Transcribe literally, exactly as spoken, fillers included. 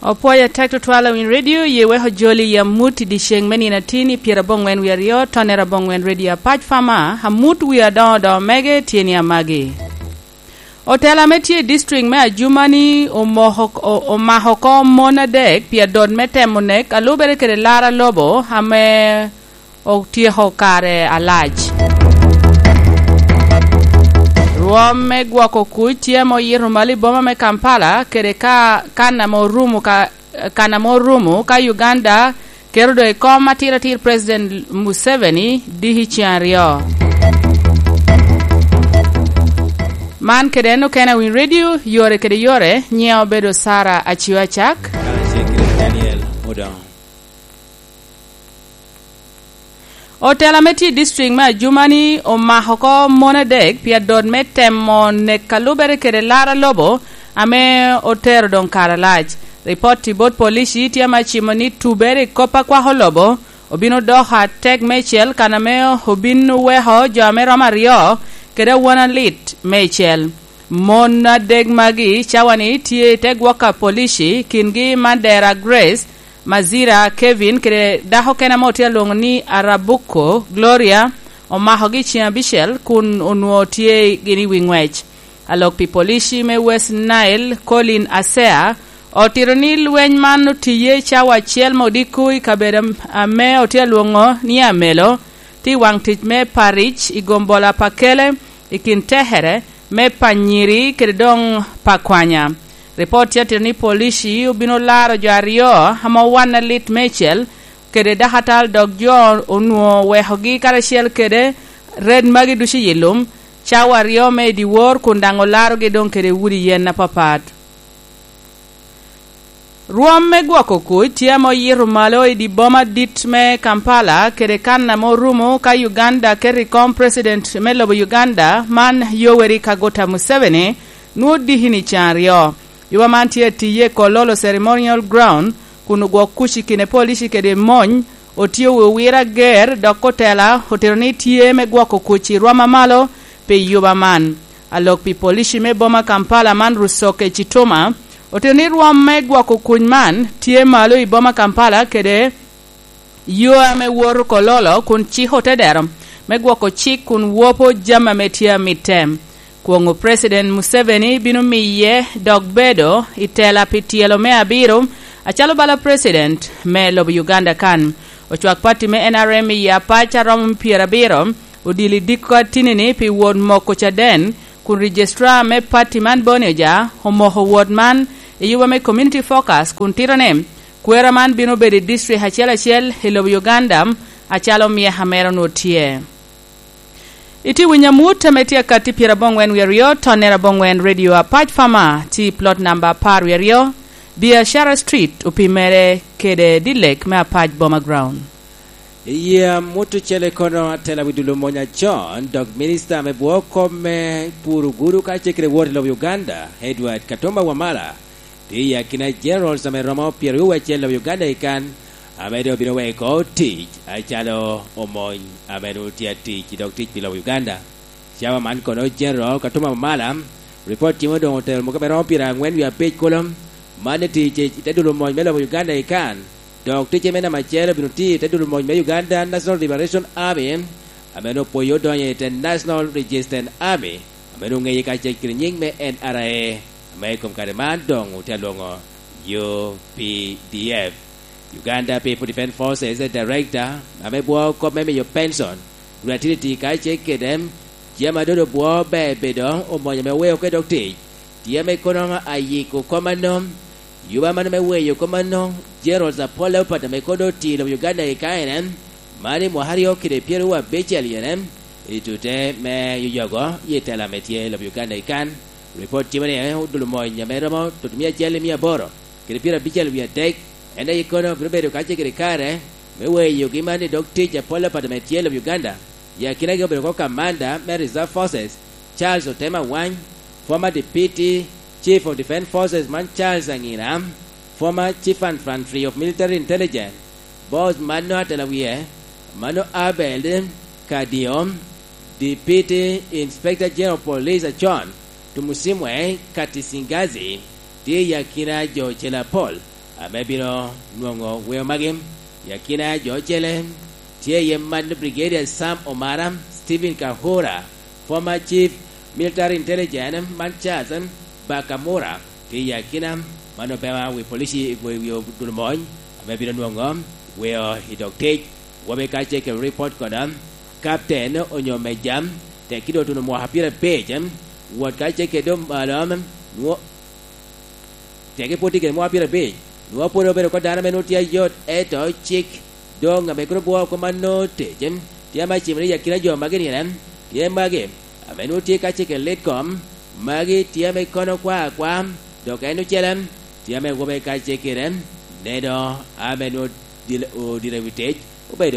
Opwoyo atek tutwal awiny redio, ye weko joli i amut i dyeceŋ me nino atin i pyeraboŋwen wie aryo, tonere aboŋwen redio apac fama, amut wie adoŋo doŋo mege tye ni amagi. Otela ame tye i district me Ajumani omoko, o-, omako oko mon adek pi adot me temo nek a lubere kede lar a lobo ame otyeko kare alac. Rwom me gwoko kuc tye ame oyito malo i boma me Kampala kede ka, kan ame orumo ka, kan ame orumo ka Uganda keto doŋ i kom atiratir President Museveni diki ceŋ aryo. Man kede en okene a Winy Radio, yore kede yore, nyiŋa obedo Sara Acio Acak. Kacel kede Daniel Odongo. Otela me tye i district me Ajumani omako oko mon adek pi adot me temo nek a lubere kede lar a lobo ame otero doŋ kare alac. Ripot i bot polici tye ame acimo ni tubere i kop a kwako lobo obino doko atek meicel, kan ame obin oweko jo ame romo aryo kede awona lit meicel. Mon adek magi cawani tye i te gwok a polici, kingi Mandera Grace, Mazira Kevin, kede dako kene ame otye alwoŋo ni Arabuko Gloria, omakogi i ceŋ abicel kun onwoŋo tye gin i wi ŋwec. Alok pi polici me West Nile, Colin Asea, otito ni lweny man otiye cawa acel me odiko i kabedo am-, ame otye alwoŋo ni Amelo, tye i waŋ tic me Paric i gombola pa Kele i kin tekere me panyiri kede doŋ pa kwanya. Ripot tye atito ni polici obino laro jo aryo ame owanne lit meicel kede dakatal, dok jo onwoŋo wekogi karacel kede red magi ducu i lum, cawa aryo me i dyewor kun daŋ olarogi doŋ kede udi yen apapat. Rwom me gwoko kuc tye ame oyito malo i dye boma dit me Kampala kede kan ame orumo ka Uganda keto i kom President me lobo Uganda man, Yoweri Kaguta Museveni, nwoŋo dikini ceŋ aryo. Yuba man tye atiye i Kololo Ceremonial Ground kun ogwok kuc i kine polici kede mony, otye owiro ager dok otela otito ni tye me gwoko kuc i rwom amalo pi yuba man. Alok pi polici me boma Kampala man, Rusoke Kituma, otito ni rwom me gwoko kuc man tye malo i boma Kampala kede yo ame woto Kololo kun ciko te dero me gwoko cik kun wopo jami ame tye amitte. Kwoŋo President Museveni bino miye dok bedo i tela pi tyelo me abiro acalo bala President me lobo Uganda kan. Ocwak pati me N R M i apac a romo pyerabiro odilo i diko atinini pi wot moko caden, kun Registrar me pati man Boni Oja omoko wot man i yuba me Community Focus kun tito ni kwera man bino bedo i district acel acel i lobo Uganda acalo myeka mere onwoŋo tye. Itye winyo amut ame tye akatti pyeraboŋwen wie aryo, tonnere aboŋwen redio apac fama, tye i plot namba apar wie aryo, Biashara Street, opimere kede Dilek me apac Boma Ground. Iye amut ocele kono atela wi dul omony acon, dok minista me bwo kop me puro gudo kacel kede wot i lobo Uganda, Edward Katumba Wamala, tye i akina generals ame romo pyeraryo wacel i lobo Uganda i kan, ame doŋ obino weko tic acalo omony ame doŋ tye atic i dog tic pi lobo Uganda. Cawa man kono General Katumba Wamala, ripot cimo doŋ otero muka me romo pyerangwen wie abic kulu, man ni tic i te dul omony me lobo Uganda i kan, dok ticce me namba acel obino tiyo i te dul omony me Uganda National Liberation Army, ame doŋ opwoyo odonyo i te National Resistance Army, ame doŋ ŋeye kacel kede nyiŋ me N R A, ame i kom kare man doŋ otye alwoŋo U P D F. Uganda People Defence Forces Director, ame bwo kop me miyo pension, Gratititi kacel kede jami a dodo bwo ber bedo omony ame oweo oko i dog tic, tye ame kono ayiko kom anom. Yuba mano me weyo kom anom, Gerald Apol Leopard ame kono oti i lobo Uganda i kaene, man i mwaka aryo kede pyeraryo abicel yene, i tute me yoyogo i tela ame tye i lobo Uganda i kan. Ripot timo ni, eh, odul omony ame romo tutumia acel i mia aboro kede pyerabicel wie adek, en aye kono bino bedo kacel kede kare me weyogi man i dog tic apol apat ame tye i lobo Uganda. I akinagi obedo oko kamanda me Reserve Forces, Charles Otema Wany, former Deputy Chief of Defence Forces man Charles Angina, former Chief Infantry of Military Intelligence, Boss mano atela wie, mano Abel Kadio, Deputy Inspector General of Police acon, Tumusimwe Katisingazi, tye i akina jo ocele apol, ame bino nwoŋo weo magi. I akina jo ocele tye iye man Brigadier Sam Omara, Stephen Kahura, former Chief Military Intelligence, man Charles Bakamura, tye i akina man opema wi polici i gwe wi odulo mony, ame bino nwoŋo weo i dog tic. Wobe kacel kede ripot kono, Captain onyo Meja, tek kido otuno mwaka pyerabicel, wot kacel kede omalo, nwo-, teke pwod tye kede mwaka pyerabic, nwoŋo pwod obedo oko dano ame nwoŋo tye ayot, ento cik doŋ ame kono bwoo oko man nwoŋo tec, tye ame acimere i akina jo magi nine, tye magi ame nwoŋo tye kacel kede Litkom, magi tye ame kono kwa akwa, dok en ocele tye ame wobe kacel kede neno ame nwoŋo dil-, odire wi tec, obedo